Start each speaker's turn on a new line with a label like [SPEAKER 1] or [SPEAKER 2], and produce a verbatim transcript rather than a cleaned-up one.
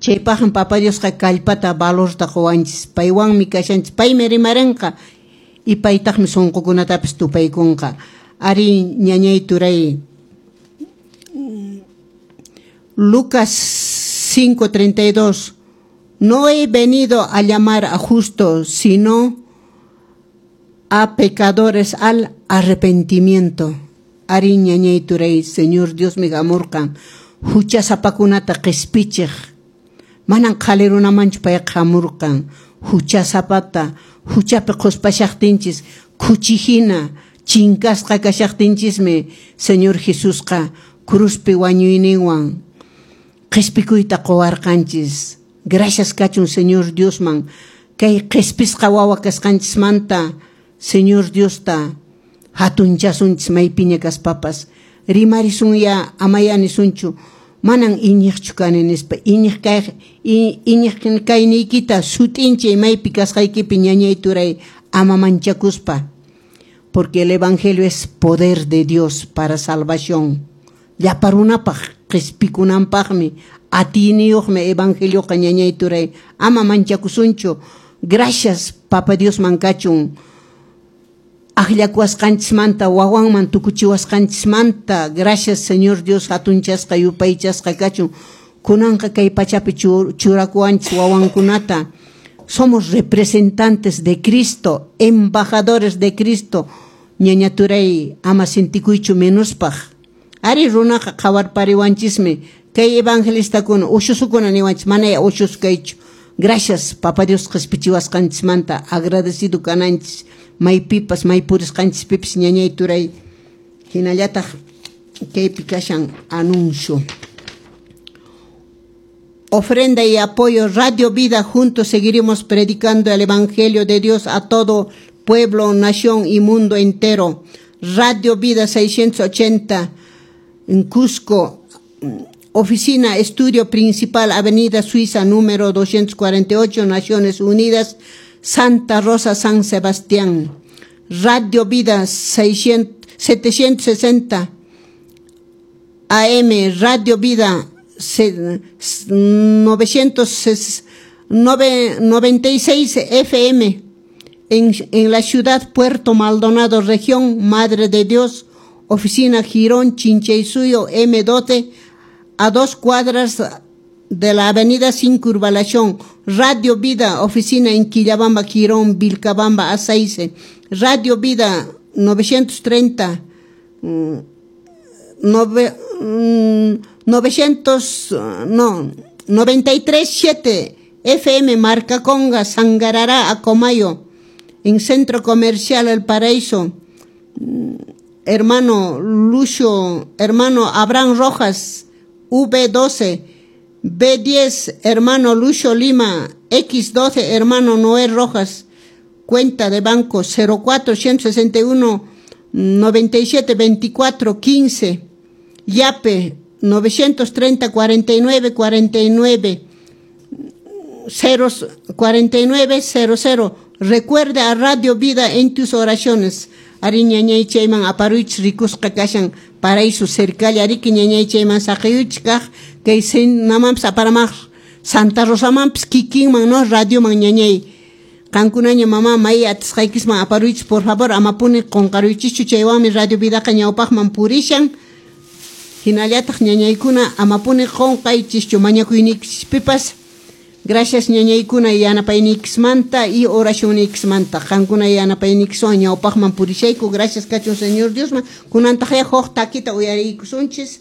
[SPEAKER 1] Chaypaqmi Papa Diosqa kallpata valorta quwanchis, paywanmi kashanchis, paymi rimarinqa y paytaqmi sunqukunatapis tupaykunqa. Ari ñañay turay. Lucas cinco treinta y dos. No he venido a llamar a justos, sino a pecadores al arrepentimiento. Ari ñañay turay, Señor Diosmi hamurqan huchasapakunata qispichiq. Manan qhali runamanchu payqa hamurqan, huchasapata, huchapi qhuspashaqtinchis, khuchi hina chinkasqa kashaqtinchismi Señor Jesusqa cruzpi wañuyninwan qispikuyta quwarqanchis. Gracias kachun Señor Diosman, kay qispisqa wawa kasqanchismanta Señor Diosta hatunchasunchis maypiña kaspapas. Rimarisunya amaya nisunchu, manan iñiqchu kani nispa, iñiq kay iñiq kayniykita sut'inchay maypi kasqaykipi ñañay turay ama manchakuspa, porque el evangelio es poder de Dios para salvación. Llapa runapaq qispikunanpaqmi atiyniyuqmi evangelioqa ñañay turay, ama manchakusunchu. Gracias Papa Diosman kachun akllakuwasqanchismanta, wawanman tukuchiwasqanchismanta. Gracias Señor Dios, hatunchasqa yupaychasqa kachun. Kunanqa kay pachapi churakuwanchis wawankunata. Somos representantes de Cristo, embajadores de Cristo. Ñaña turay, ama sintikuychu menospaq. Ari runaqa qhawarpariwanchismi kay evangelistakuna ushusukuna niwanchis, manaya ushus kaychu. Gracias Papa Dios qispichiwasqanchismanta, agradecido kananchis maypipas maypurisqanchispipis ñañay turay. Hinallataq kaypi kashan anuncio. Ofrenda y apoyo Radio Vida, juntos seguiremos predicando el Evangelio de Dios a todo pueblo, nación y mundo entero. Radio Vida seiscientos ochenta en Cusco, oficina, estudio principal, Avenida Suiza, número doscientos cuarenta y ocho, Naciones Unidas, Santa Rosa, San Sebastián. Radio Vida seiscientos, setecientos sesenta A M, Radio Vida novecientos noventa y seis F M, en, en la ciudad Puerto Maldonado, región Madre de Dios, oficina Girón, Chinchaysuyo, M doce, a dos cuadras de la avenida Circunvalación. Radio Vida, oficina en Quillabamba, Girón, Vilcabamba, A seis. Radio Vida, novecientos treinta, nove, novecientos, no, noventa y tres siete F M, Marca Conga, Sangarará, Acomayo, en Centro Comercial El Paraíso. Hermano Lucio, hermano Abraham Rojas, V doce, B diez, hermano Lucio Lima, X doce, hermano Noé Rojas, cuenta de banco cero cuatro, ciento sesenta y uno, noventa y siete, veinticuatro, quince, Yape novecientos treinta, cuarenta y nueve, cuarenta y nueve, cero, cuarenta y nueve, cero, cero. Recuerda a Radio Vida en tus oraciones. Ari ñañay chayman aparuich rikusqa kashan paraíso cercalla ariki ñañay chayman saqiyuch kaq kay namanpis aparamaq Santa Rosamanpis kikinman no radioman ñañay qankunaña mamá may atisqaykisman aparuich, por favor amapuni qunqaruychischu chaywanmi Radio Vidaqa ñawpaqman purishan. Hinallataq ñañaykuna amapuni qunqaychischu mañakuynikispipas. Gracias ñañaykuna yanapaynikismanta y oracionnikismanta. Qankuna yanapaynikiswan ñawpaqman purishayku. Gracias kachun Señor Diosman. Kunantaqya huk takita uyariykusunchis.